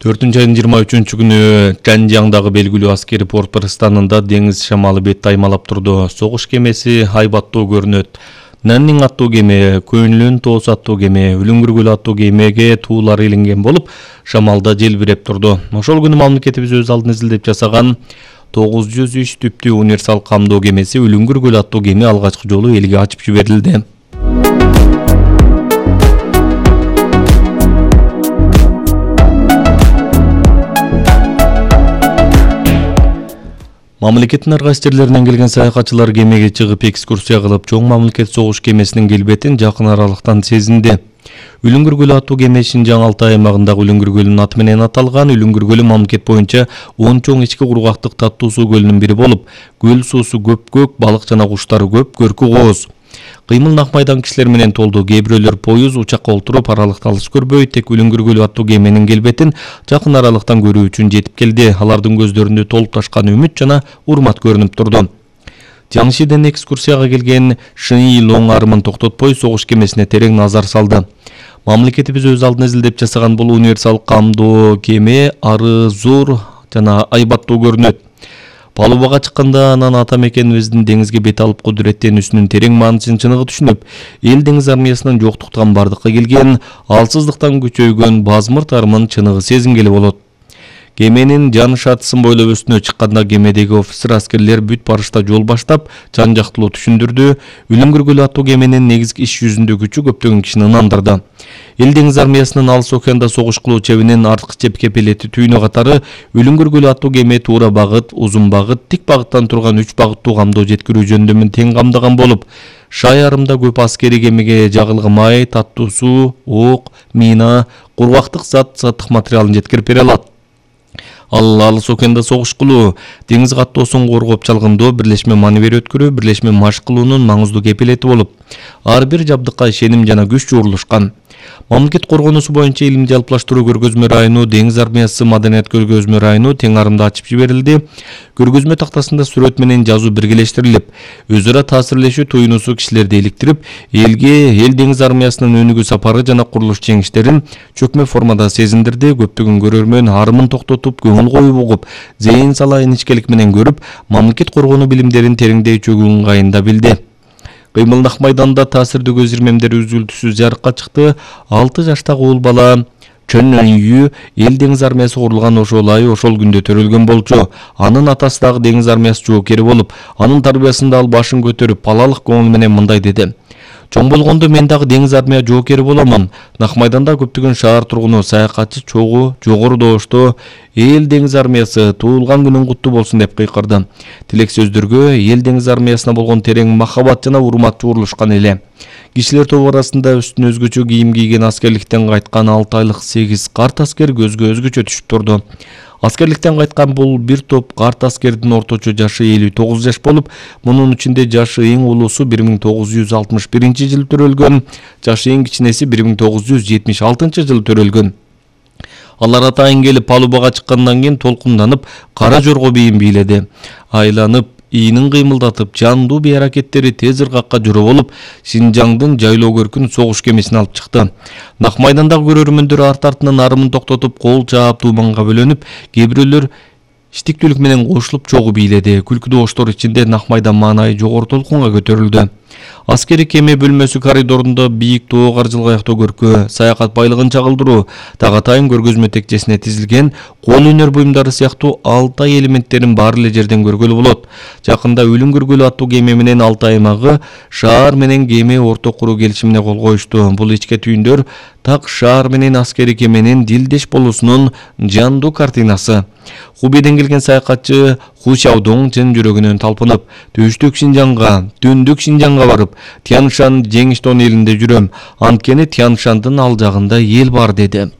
4-айдын 23-күнү Жанжаңдагы белгилүү аскери порт пристанында деңиз шамалы бетти аймалап турду. Согуш кемеси Айбаттуу көрүнөт. Наннин аттуу кеме, Көңүлүн тоос аттуу кеме, Үлүңгүргүл аттуу кемеге туулар илинген болуп, шамалда желбиреп турду. Ошол күнү мамлекетибиз өз алдын изилдеп жасаган 903 түптүү универсал камдоо кемеси Үлүңгүргүл аттуу кеме алгачкы жолу элге ачып жиберилди. Мамлекеттин ар кайсы жерлеринен келген саякатчылар кемеге чыгып экскурсия кылып, чоң мамлекет согуш кемесинин келбетин жакын аралыктан сезинди. Үлүңгүргүл аттуу кеме Шинжаң Алтай аймагындагы Үлүңгүргөлдүн аты менен аталган. Үлүңгүргөлү мамлекет боюнча 10 чоң ички кургактык таттуу суу көлүнүн бири болуп, көл суусу көпкөк, балык жана куштары көп, көркү кооз. Кыймыл нак майдан кишилер менен толду. Кээ бирөөлөр поюз, учакка олтуруп аралыкта алыс көрбөй, тек Үлүңгүргүл аттуу кеменин келбетин жакын аралыктан көрүү үчүн жетип келди. Алардын көздөрүндө толуп ташкан үмүт жана урмат көрүнүп турду. Жаңшиден экскурсияга келген Шыйи Лоң арымын токтотпой согуш кемесине терең назар салды. Мамлекетибиз өз алдын изилдеп жасаган бул универсал камдоо кеме ары зор жана айбаттуу көрүнөт. Палубага чыкканда анан ата мекенибиздин деңизге бет алып кудуреттенүүсүнүн терең мааниsin чыныгы түшүнүп, эл деңиз армиясынын жоктуктан бардыкка келген, алсыздыктан күчөйгөн базмырт арымын чыныгы сезингели болот. Кеменин жан шатысын бойлоп өстүнө чыкканда кемедеги офицер аскерлер бүт барышта жол баштап, жан жактылуу түшүндүрдү. Үлүңгүргүл аттуу кеменин негизги иш жүзүндө күчү көптөгөн кишини ынандырды. Эл деңиз армиясынын алыс океанда согуш кылуу чебинин арткы чеп кепелети түйүнү катары Үлүңгүргүл аттуу кеме туура багыт, узун багыт, тик багыттан турган 3 багыттуу камдоо жеткирүү жөндөмүн тең камдаган болуп, Шай арымда көп аскери кемеге жагылган май, таттуу суу, ок, мина, кургактык заттык материалын жеткирип бере алат. Ал алыс океанда согуш кылуу, деңиз каттоосун коргоп чалгындоо, бирлешме маневр өткөрүү, бирлешме машык кылуунун маңыздуу кепилети болуп, ар бир жабдыкка ишеним жана күч чогулушкан. Мамлекет коргонуусу боюнча илим жалпылаштыруу көргөзмө району, деңиз армиясы маданият көргөзмө району тең арымда ачып жиберилди. Көргөзмө тактасында сүрөт менен жазуу биргелештирилип, өз ара таасирлешүү туюнуусу кишилерди иликтирип, эл деңиз армиясынын өнүгүү сапары жана курулуш жеңиштерин чөкмө формада сезиндирди. Көптөгөн көрөрмөн арымын токтотуп, көңүл коюп угуп, зээн сала иничкелик менен көрүп, мамлекет коргонуу билимдерин тереңдей чөгүү ыңгайында билди. Кыймыл нак майданда таасирдүү көз ирмемдери үзүлтүсүз жарыкка чыкты. 6 жаштагы уул бала Чөн Үй эл деңиз армиясы курулган ошол ай ошол күндө төрөлгөн болчу. Анын атасы дагы деңиз армиясы жоокери болуп, анын тарбиясында ал башын көтөрүп, палалык көңүл менен мындай деди: "Чоң болгондо мен дагы деңиз армия жоокери боломун. Нак майданда көптөгөн шаар тургуну, саякатчы чогуу жогору добошто эл деңиз армиясы туулган күнүң куттуу болсун" деп кыйкырды. Тилек сөздөргө эл деңиз армиясына болгон терең махабат жана урмат жуурулушкан эле. Кишилер тобу арасында үстүнө өзгөчө кийим кийген аскерликтен кайткан 6 айлык 8 карт аскер көзгө өзгөчө түшүп турду. Аскерликтен кайткан бул бир топ карт аскердин орточо жашы 59 жаш болуп, мунун ичинде жашы эң улуусу 1961 төрөлгөн, жашы эң кичинеси 1976 жылы төрөлгөн. Алар атайын келип палубага чыккандан кийин толкунданып, кара жорго бийин бийледи. Айланып, ийинин кыймылдатып, жандуу бий аракеттери тез ыргакка жүрө болуп, Шинжаңдын жайлоо көркүн согуш кемесине алып чыкты. Нак майдандагы көрөрмөндөр арт-артынан арымын токтотуп, кол чаап дууманга бөлөнүп, кээ бирөөлөр иштиктүүлүк менен кошулуп чогуу бийледи. Күлкү добоштор ичинде Нак майдан маанайы жогору толкунга көтөрүлдү. Аскери кеме бөлмөсү коридорунда бийик тоо каржылга аяктоо көркү, саякат байлыгын чагылдыруу, тагатайын көргөзмө текчесине тизилген кол өнөр буюмдары сыяктуу Алтай элементтерин баары эле жерден көргөлү болот. Жакында Үлүңгүргүл аттуу кеме менен Алтай аймагы шаар менен кеме орто куруу келишимине кол коюшту. Бул ичке түйүндөр так шаар менен аскери кеменин дилдеш болуусунун жандуу картинасы. Хубейден келген саякатчы Ху Сяодоң чын жүрөгүнөн талпынып, түштүк Шинжаңга, түндүк Шинжаңга барып, Тяншан Жеңиштон элинде жүрөм. Анткени Тяншандын ал жагында эл бар деди.